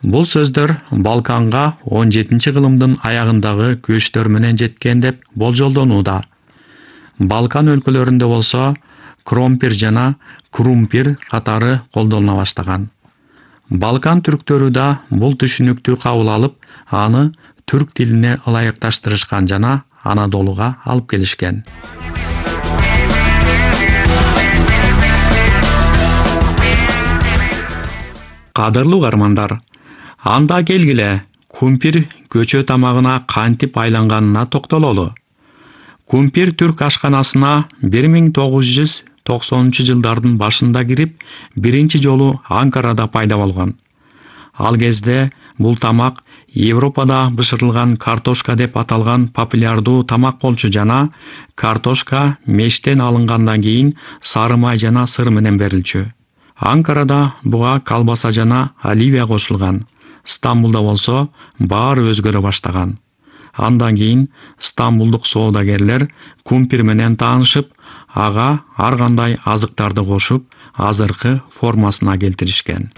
Бул сөздөр Балканга 17-кылымдын аягындагы көчтөр менен жеткен деп болжолдонууда. Балкан өлкөлөрүндө болсо кромпир жана крумпир катары колдонула баштаган. Балкан түрктөрү да бул түшүнүктү кабыл алып, аны түрк тилине ылайыкташтырышкан жана Анадолуга алып келишкен. Кадырлуу угармандар, анда келгиле кумпир көчө тамагына кантип айланганына токтололу. Кумпир түрк ашканасына 1990-жылдардын башында кирип, биринчи жолу Анкарада пайда болгон. Ал кезде бул тамак Европада бышырылган картошка деп аталган популярдуу тамак болчу жана картошка мештен алынгандан кийин сары май жана сыр менен берилчү. Анкарада буга колбаса жана оливия кошулган. Стамбулда болсо баары өзгөрө баштаган. Андан кийин стамбулдук соодагерлер кумпир менен таанышып, ага ар кандай азыктарды кошуп, азыркы формасына келтиришкен.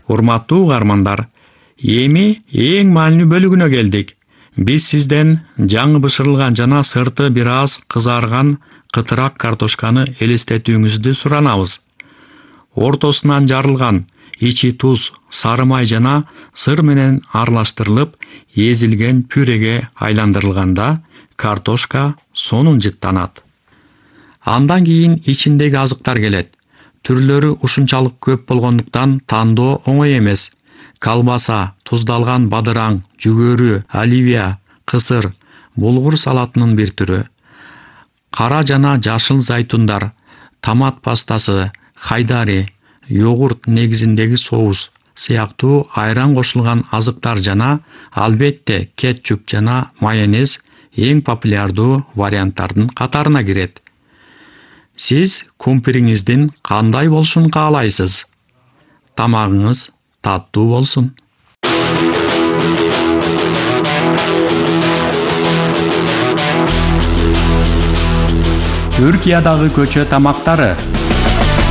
Урматтуу угармандар, эми эң маанилүү бөлүгүнө келдик. Биз сизден жаңы бышырылган жана сырты бир аз кызарган кытырак картошканы элестетүүңүздү суранабыз. Ортосунан жарылган, ичи туз, сары май жана сыр менен аралаштырылып, эзилген пюреге айландырылганда картошка сонун жыттанат. Андан кийин ичиндеги азыктар келет. Түрлөрү ушунчалык көп болгондуктан тандоо оңой эмес. Колбаса, туздалган бадыраң, жүгөрү, оливия, кысыр, булгур салатынын бир түрү. Кара жана жашыл зайтундар, томат пастасы, хайдари, йогурт негизиндеги соус сыяктуу айран кошулган азыктар жана албетте кетчуп жана майонез эң популярдуу варианттардын катарына кирет. Сиз кумпириңиздин кандай болушун каалайсыз? Тамагыңыз таттуу болсун. Түркиядагы көчө тамактары.